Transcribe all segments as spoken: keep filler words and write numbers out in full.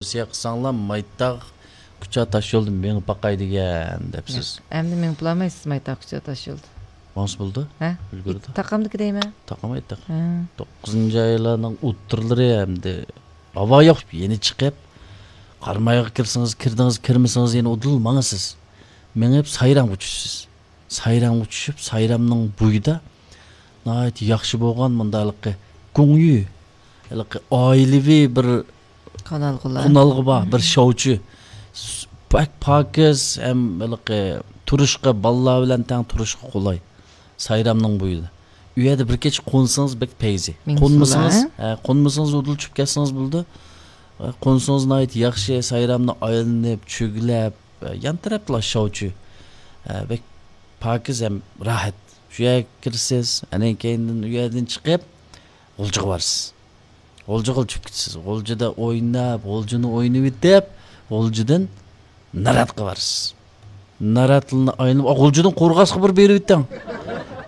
تەۋسىيە قىلساڭلار، مايتاغ كۇچا تاش يولدا مېڭىپ باقاي دېگەن دەپسىز. ياق، ئەمدى مېڭىپ بولالمايسىز مايتاغ كۇچا تاش يولدا. ماڭسا بولىدۇ؟ ھە؟ ئۈلگۈردى. تاقامدىكى دەيمەن. تاقام ئېيتتۇق. ھە. توققۇزىنچى ئايلارنىڭ ئوتتۇرىلىرى ئەمدى ھاۋا يوق، يەنە چىقىپ، قارامايغا كىرسىڭىز كىردىڭىز، كىرمىسىڭىز يەنە ئۇدۇل ماڭىسىز. مېڭىپ سايرامغا چۈشىسىز. سايرامغا چۈشۈپ، سايرامنىڭ بويىدا ناھايىتى ياخشى بولغان مۇنداق ھېلىقى گۇڭيۈ، ھېلىقى ئائىلىۋى بىر قونالغۇلار. قونالغۇ بار، بىر شاۋچى. س-، بەك پاكىز ھەم ھېلىقى تۇرۇشقا، بالىلار بىلەن تەڭ تۇرۇشقا قولاي. سايرامنىڭ بويىدا. ئۇ يەردە بىر كېچە قونسىڭىز بەك پەيزى. مىڭ قونمىسىڭىز، سۇلار. ھە، قونمىسىڭىز ئۇدۇل چۈشۈپ كەتسىڭىز بولىدۇ. ھە، قونسىڭىز ناھايىتى ياخشى، سايرامنى ئايلىنىپ، چۆگىلەپ، ھە، يان تەرەپلا شاۋچى. ھە، بەك پاكىز ھەم راھەت. شۇ يەرگە كىرىسىز، ئاندىن كېيىندىن ئۇ يەردىن چىقىپ، غۇلجىغا بارىسىز. غۇلجىغا چۈشۈپ كېتىسىز. غۇلجىدا ئويناپ، غۇلجىنى ئوينىۋېتىپ، غۇلجىدىن ناراتقا بارىسىز. ناراتلىنى ئايلىنىپ، ئا، غۇلجىدىن قورغاسقا بىر بېرىۋېتىڭ.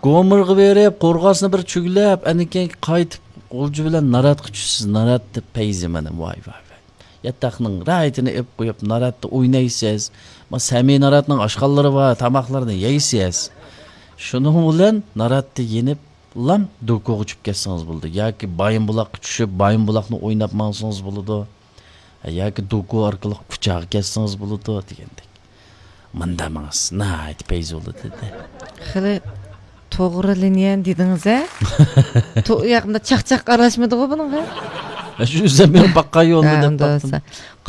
گومۇرغا بېرىپ، قورغاسنى بىر چۆگىلەپ، ئاندىن كېيىن قايتىپ غۇلجا بىلەن ناراتقا چۈشىسىز. ناراتتا پەيزى مانا، ۋاي، ۋاي، ۋاي. ياتاقنىڭ راھىتىنى ئېلىپ قويۇپ، ناراتتا ئوينايسىز. ما، سەمىي ناراتنىڭ ئاشخانىلىرى بار، تاماقلىرىنى يەيسىز. شۇنىڭ بىلەن ناراتتا يېنىپ، لام دوكۇغا چۈشۈپ كەتسىڭىز بولىدۇ. ياكى بايىنبۇلاققا چۈشۈپ، بايىنبۇلاقنى ئويناپ ماڭسىڭىز بولىدۇ. ياكى دوكۇ ئارقىلىق كۇچاغا كەتسىڭىز بولىدۇ دېگەندەك. مۇندا ماڭسىز، ناھايىتى پەيزى بولىدۇ دېدى. خېلى توغرا لىنىيەنى دېدىڭىز ھە؟ تو-، ياقىمدا چاقچاق ئارىلاشمىدىغۇ بۇنىڭغا؟ ھە، شۇ ئۆزۈم مېڭىپ باققان يولنى ھە، دەپ ئۇنداق باقتىم. بولسا.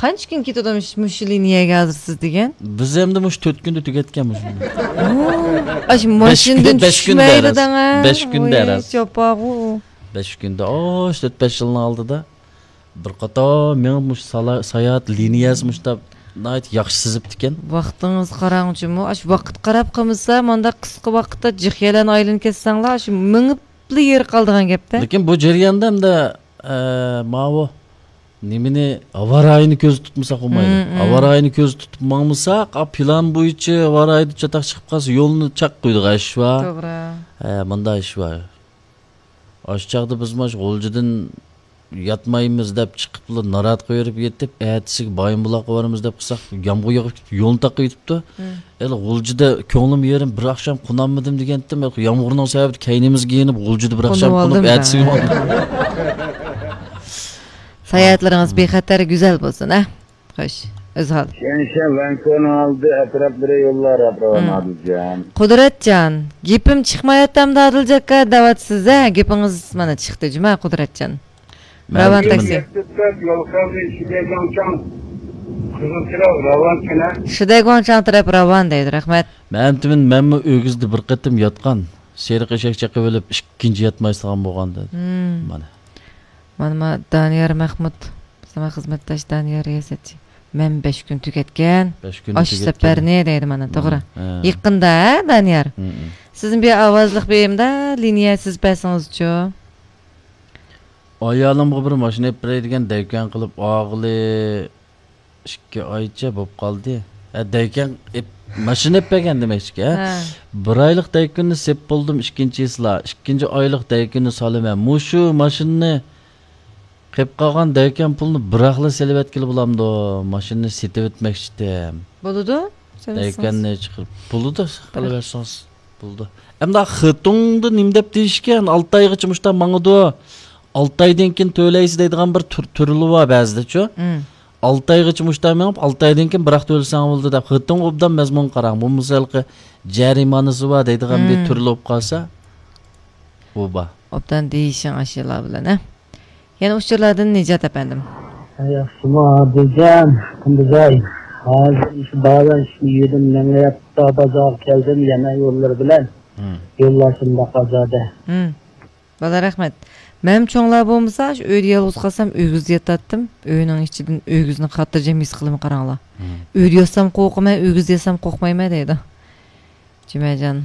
قانچە كۈن كېتىدۇ مۇش-، مۇشۇ لىنىيەگە ھازىر سىز دېگەن؟ بىز ئەمدى مۇشۇ تۆت كۈندە تۈگەتكەن مۇشۇنى. ئاشۇ بەش ماشىنىدىن كۈندە، بەش كۈندە چۈشمەيدۇ ئەرەز. دەڭە. بەش كۈندە ۋاي، ئەرەز. چاپاغۇ. بەش كۈندە، ئاش، تۆت-بەش يىلنىڭ ئالدىدا بىر قاتار مېڭىپ مۇشۇ سالا-، ساياھەت لىنىيەسى مۇشۇنداق ناھايىتى ياخشى سىزىپتىكەن. ۋاقتىڭىز قاراڭچۇمۇ، ئاشۇ ۋاقىت قاراپ قالمىسا، مانداق قىسقا ۋاقىتتا جىخيەلەرنى ئايلىنىپ كەتسەڭلار، ئاشۇ مېڭىپلا يېرى قالىدىغان گەپتە. لېكىن بۇ جەرياندا ئەمدى، ئە، ماۋۇ نېمىنى، ھاۋا رايىنى كۆزدە تۇتمىساق بولمايدۇ. مم، مم. ھاۋا رايىنى كۆزدە تۇتۇپ ماڭمىساق، ئا، پىلان بويىچە ھاۋا رايىدا چاتاق چىقىپ قالسا، يولنى چاق قويىدىغان ئىش بار. توغرا. ھە، مۇنداق ئىش بار. ئاشۇ چاغدا بىز مانا شۇ غۇلجىدىن ياتمايمىز دەپ چىقىپلا ناراتقا يۈرۈپ يېتىپ، ئەتىسىگە بايىنبۇلاققا بارىمىز دەپ قىلساق، يامغۇر يېغىپ كېتىپ، يولنى تاقىۋېتىپتۇ. مم. ھېلى غۇلجىدا كۆڭلۈم يېرىم، بىر ئاخشام قونالمىدىم دېگەنتىم، ھېلى يامغۇرنىڭ سەۋەبىدىن كەينىمىزگە يېنىپ، غۇلجىدا بىر ئاخشام قونۇپ، ئەتىسىگە ماڭدىم. ساياھەتلىرىڭىز بىخەتەر، گۈزەل بولسۇن، ھە؟ خوش، ئۆزھال. شەنشەن، ۋەنكۇنىڭ ئالدى ئەتراپلىرى يوللار راۋان، مم. ئادىلجان. قۇدرەتجان، گېپىم چىقمايۋاتامدۇ ئادىلجان ئاكا دەۋاتىسىز ھە؟ گېپىڭىز مانا چىقتى جۇما قۇدرەتجان. مەن راۋان تاكسى. يول قالدى، شىدەگۇاڭچاڭ، قىزىل چىراغ، راۋان كېنە. شىدەگۇاڭچاڭ تەرەپ راۋان دەيدۇ، رەھمەت. مەن تۈمەن، مەنمۇ ئۆگزىدە بىر قېتىم ياتقان. سېرىق ئېشەك چېقىۋېلىپ ئىككىنچى ياتمايسىغان بولغان دېدى. مم. مانا. مانا ما دانىيار مەخمۇت، بىزنىڭ خىزمەتداش دانىيار رىياسەتچى. مەن بەش كۈن تۈگەتكەن. بەش كۈن ئاشۇ تۈگەتكەن. سەپەرنى دەيدۇ مانا، توغرا. ھە. يېقىندا، ھە، دانىيار؟ ھە، ھە. سىزنى بىر ئاۋازلىق بېرىمدە، لىنىيە سىز بەرسىڭىزچۇ؟ ئايالىمغا بىر ماشىنا ئېلىپ بېرەي دېگەن دەۋكەن قىلىپ ئالغىلى ئىككى ئايچە بوپ قالدى. ھە، دەۋكەن ئېپ-، ماشىنا ئېلىپ بەرگەن دېمەكچىكى، ھە؟ ھە. بىر ئايلىق دەۋكەننى سېپ بولدۇم، ئىككىنچى يىلى. ئىككىنچى ئايلىق دەۋكەننى سالىمەن. مۇشۇ ماشىنىنى قېلىپ قالغان دەۋكەن پۇلنى بىراقلا سېلىۋەتكىلى بولامدۇ؟ ماشىنىنى سېتىۋەتمەكچىدىم. بولىدۇ. سېلىسىڭىز. دەۋكەننى چىقىرىپ، بولىدۇ، قىلىۋەرسىڭىز بولىدۇ. ئەمدى خېتۇڭدا نېمە دەپ دېيىشكەن؟ ئالتە ئايغىچە مۇشتا ماڭىدۇ. ئالتە ئايدىن كېيىن تۆلەيسىز دەيدىغان بىر تۈر-، تۈرلى بار بەزىدىچۇ. مم. ئالتە ئايغىچە مۇشتا مېڭىپ، ئالتە ئايدىن كېيىن بىراق تۆلىسەڭ بولدى دەپ، خېتىڭ ئوبدان مەزمۇن قاراڭ. بولمىسا ھېلىقى جەرىمانىسى بار دەيدىغان بىر مم. تۈرلى بولۇپ قالسا، ئۇ بار. ئوبدان دېيىشىڭ ئاشۇلار بىلەن، ھە؟ يەنە ئۇچۇرلاردىن نىجات ئەپەندىم. ياخشىمۇ ئادىلجان، قۇندۇزاي؟ ھازىر مۇشۇ بازار ئىشىنى يۈدۈم مېڭىپ، بازارغا كەلدىم، يەنە يوللىرى بىلەن. مم. يوللار شۇنداق ئازادە. مم. بالا رەھمەت. مەن چوڭلار بولمىسا، شۇ ئۆيدە يالغۇز قالسام، ئۆگزىدە ياتاتتىم. ئۆينىڭ ئىچىدىن ئۆگزىنى خاتىرجەم ھېس قىلىمەن، قاراڭلار. مم. ئۆيدە ياتسام قورقىمەن، ئۆگزىدە ياتسام قورقمايمەن دەيدۇ. جۈمەجان.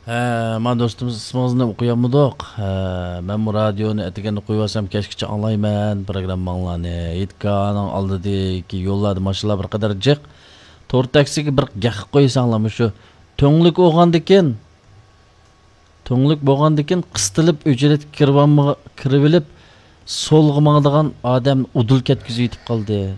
ھە، مانا دوستىمىز، ئىسمىڭىزنى ئوقۇيالمىدۇق. ھە، مەنمۇ رادىيونى ئەتىگەندە قويۇۋالسام، كەچكىچە ئاڭلايمەن پروگرامماڭلارنى. ھېيتگاھنىڭ ئالدىدىكى يوللاردا ماشىنىلار بىر قەدەر جىق. تور تاكسىگە بىر گەق قويساڭلار، مۇشۇ تۈڭلۈك بولغاندىكىن، تۈڭلۈك بولغاندىكىن قىستىلىپ ئۆچىرەتكە كىرىۋالما-، كىرىۋېلىپ، سولغا ماڭىدىغان ئادەم ئۇدۇل كەتكۈزۈۋېتىپ قالدى.